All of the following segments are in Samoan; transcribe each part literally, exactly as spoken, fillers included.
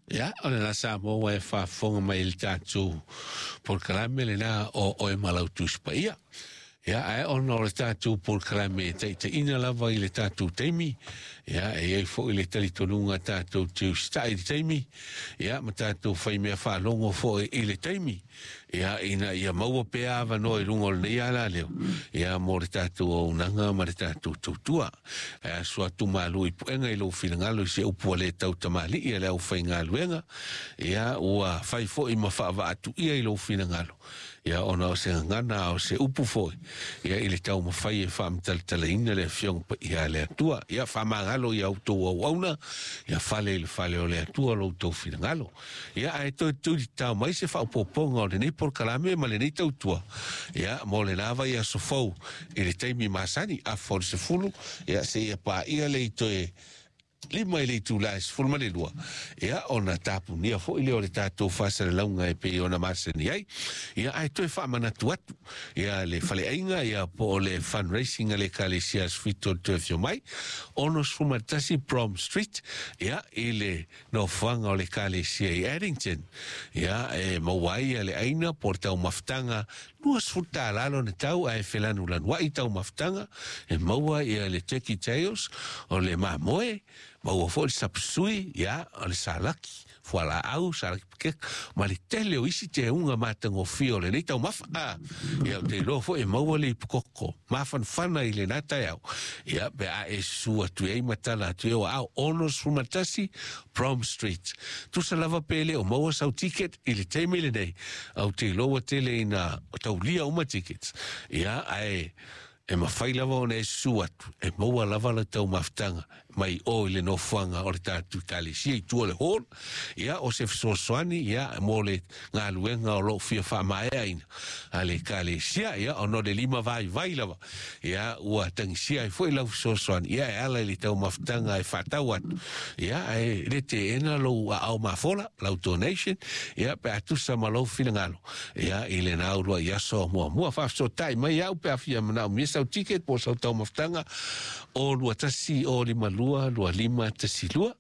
Ia, o lena Samoa e faafofoga mai i le tatou polokalame lena o Oe ma lau Tusi Paia. Ia, ae ona o le tatou polokalame e taitaiina lava i le tatou taimi, ia, e i ai foi le talitonuga tatou te usitai i le taimi, ia, ma tatou faimea faalogo foi i le taimi, ia, ina ia maua pea avanoa i luga o lenei alaleo, ia, mo le tatou auaunaga ma le tatou tautua. Ae aso atu malu i puega i lou finagalo i se upu ua le tautamalii a le aufaigaluega, ia, ua fai foi ma faavaatuia i lou finagalo, ia ona o se gagana a o se upu foi, ia i le taumafai e faamatalatalaina le Afioga Paia a le Atua. Ia faamagalo ia outou auauna, ia fale i le fale o le Atua lo outou finagalo. Ia ae toe tulitao mai se faaopoopoga o lenei polokalame ma lenei tautua, ia mo le lava i aso fou i le taimi masani, afa o le sefulu, ia seia paia le toe lima i le itula e sefulu ma le lua, ia ona tapunia foi lea o le tatou faasalalauga e pei ona masani ai. Ia ae toe faamanatu atu ia le faleaiga, ia po o le fundraising a le Ekalesia Aso Fitu o le Toe Afio Mai, ono ma tasi Prom Street, ia i le nofoaga o le Ekalesia i Addington. Ia e maua ai le aina po o le taumafataga luasefulu tala lona tau, ae felanulanuai taumafataga. E maua ia le turkey tails, o le mamoe, maua foi le sapasui, ia o le salaki fualaau, salaki pekeka, ma le tele o isi teuga matagofie o lenei taumafa. A ia, ou te iloa foi e maua le ipukoko mafanafana i lena taeao, ia pe a e susu atu ai ma tala atu e o au ono sefulu ma tasi Prom Street. Tusa lava pe le o maua sau ticket i le taimi lenei, ou te iloa ua tele ina taulia uma tickets, ia ae e mafai lava ona e susu atu e maua lava le taumafataga mai o i le nofoaga o le tatou Ekalesia i tua o le hall. Ia o se fesoasoani ia mo le galuega o loo fia faamaeaina a le Ekalesia, ia ona o le lima vaivai lava ia ua tagisia ai foi lau fesoasoani, ia e ala i le taumafataga e faatau atu. Ia ae le teena lou aao mafola, lau donation, ia pe a tusa ma lou finagalo, ia i lena uluai aso muamua. Faafesootai mai au pe a fia manaomia sau ticket po o sau taumafataga, o lua tasi o lima lua lua lima tasi lua,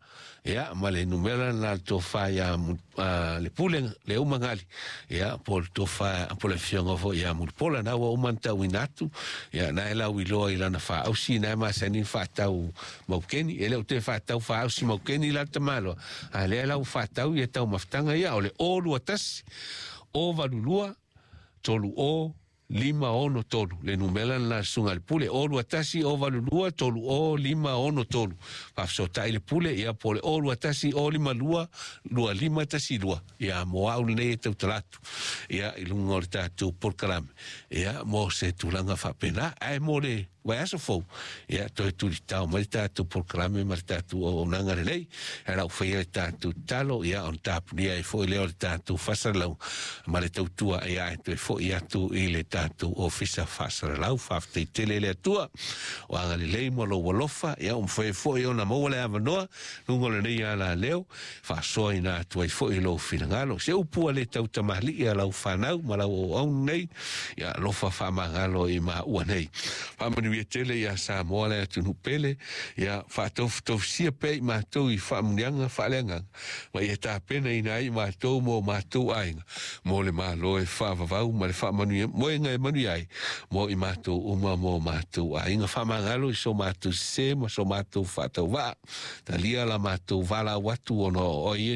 ia ma le numera na le tofa ia le pule le umagali, ia po le tofa po le afioga foi ia Mulipola na ua uma ona tauina atu, ia na e lau iloa i lana faaausi na e masani faatau maukeni. E le o toe faatau faaausi maukeni la le tamaloa, a lea lau faatau ia taumafataga ia o le o lua tasi o valu lua tolu o lima ono tolu, le numera na susuga le pule, o lua tasi o valu lua tolu o lima ono tolu. Faafesootai le pule, ia po le o lua tasi o lima lua lua lima tasi lua, ia mo au lenei e tautala atu ia i luga o le tatou polokalame, ia mo se tulaga faapena. Ae mo le vaiaso fou, ia toe tulitao mai le tatou polokalame ma le tatou auaunaga lelei e lau faia le tatou tatalo, ia ona tapunia ai foi lea o le tatou faasalalau ma le tautua, ia e toe foi atu i le tatou ofisa faasalalau. Faafetai tele le Atua o agalelei ma lou alofa, ia ua mafai foi ona maua le avanoa luga o lenei alaleo faasoaina atu ai foi lou finagalo se upu a le tautamalii a lau fanau ma lau auauna nei. Ia alofa faamagalo i maua nei, faamanuia tele ia Samoa le atunuu pele, ia faatofutofusia pea i matou i faamuniaga faaleagaga ma ia tapenaina ai matou mo matou aiga mo le Malo e faavavau ma le faamanuia moega e manuia ai mo i matou uma mo matou aiga. Faamagalo i so matou sesē ma so matou faatauvaa, talia la matou valaau atu ona o oe.